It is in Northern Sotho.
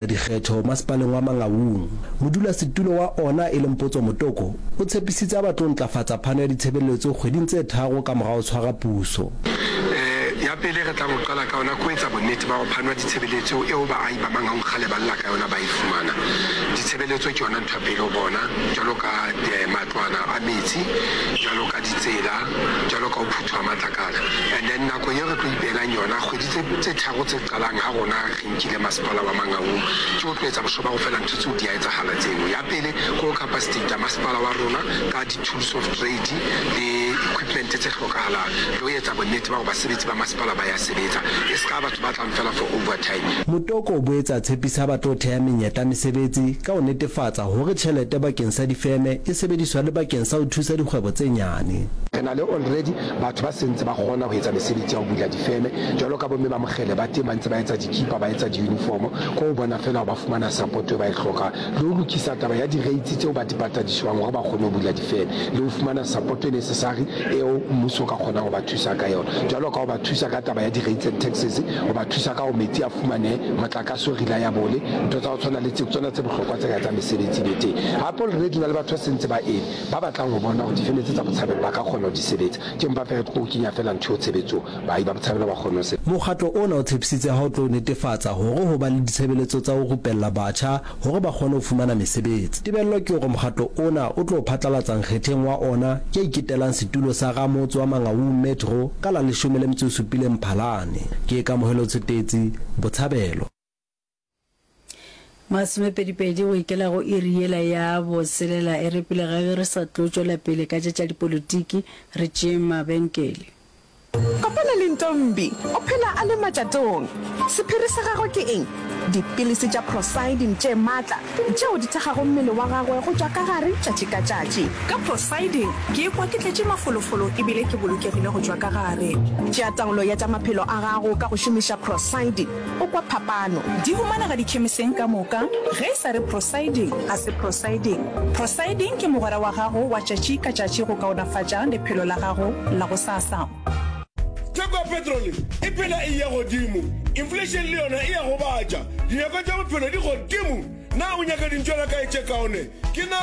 Dikgetho masepaleng wa Mangaung. Modulasetulo wa ona e leng Potso Motoko o tshepisitse a ba tlo ntlafatsa phano ya ditshebeletso kgweding tse tharo ka mora ho tshwara puso. Ya pele re tlang ho qala ka yona ke ho etsa bonnete ba hore phano ya ditshebeletso eo baahi ba Mangaung kgale ba lla ka yona ba e fumana. Ditshebeletso ke yona ntho ya pele ho bona, jwalo ka matlwana a metsi, jwalo ka ditsela, jwalo ka ho phuthwa ha matlakala. And then nakong eo re tlo ipehelang yona, kgwedi tse tharo tse qalang ha rona re nkile masepala wa Mangaung, ke ho tlo etsa bošo ba go fela ntho tseo di a etsahala tseno. Ya pele ke ho capacitate masepala wa rona ka di-tools of trade le equipment tse hlokahalang, le ho etsa bonnete ba gore basebetsi ba masepala ba ya sebetsa, e se ka batho ba tlang fela for overtime. Motoko o boetse a tshepisa ba tlo theha menyetla mesebetsi ka ho netefatsa hore tjhelete bakeng sa difeme e sebediswa le bakeng sa ho thusa dikgwebo tse nyane. Re na le already batho ba sentse ba kgona ho etsa mesebetsi ya ho bula difeme jwalo ka bomme ba Mokgele ba teng ba ntse ba etsa dikipa, ba etsa di-uniform, ke ho bona feela hore ba fumana support eo ba e hlokang le ho lokisa taba ya di-rates tseo ba di patadiswang hore ba kgone ho bula difeme le ho fumana support e necessary eo mmuso o ka kgonang ho ba thusa ka yona jwalo ka ho ba thusa ka taba ya di-rates and taxes, ho ba thusa ka hore metsi a fumanehe, motlakase o reliable, ntho tsa ho tshwana le tseo ke tsona tse bohlokwa tse ka etsang mesebetsi e be teng. Hape already ho na le batho ba sentse ba eme ba batlang ho bona hore difeme tse tsa Botshabelo ba ka kgona ho di sebetsa, ke mpa feela re tlo kenya feela ntho eo tshebetsong. Baahi ba Botshabelo ba kgone ho sebetsa. Mokgatlo ona o tshepisitse ha o tlo netefatsa hore ho ba le ditshebeletso tsa ho rupella batjha hore ba kgone ho fumana mesebetsi. Tebello ke hore mokgatlo ona o tlo phatlalatsa nkgetheng wa ona ya iketelang setulo sa ramotse wa Mangaung Metro ka la leshome le metso e supileng Mphalane. Ke Kamohelo Tshotetsi, Botshabelo. Masomepedipedi go ikela go iri yela ya botshelela e re pele ga ge re sa tlo tšwela pele ka tše tša dipolotiki re tšeeng mabenkele. Kopana le Ntombi, o phela a le matšatong. Sephiri sa gagwe ke eng? Dipilisi tša Procyldin tše matla tšeo di thekgago mmele wa gagwe go tšwa ka gare tšatši ka tšatši. Ka Procyldin, ke ikwa ke tletše mafolofolo e bile ke bolokegile go tšwa ka gare. Tšea taolo ya tša maphelo a gago ka go šomiša Procyldin. O kwa phapano. Di humanega dikhemiseng ka moka. Ge e sa re Prosiding, ga se Prosiding. Prosiding ke mogwera wa gago wa tšatši ka tšatši go kaonafatša lephelo la gago la gosasa. Theko ya petrole e phela e eya godimo, inflation le yona e a gobatša, dinyakwa tša bophelo di godimo. Na o nyaka dintšwela kae tše kaone? Ke na.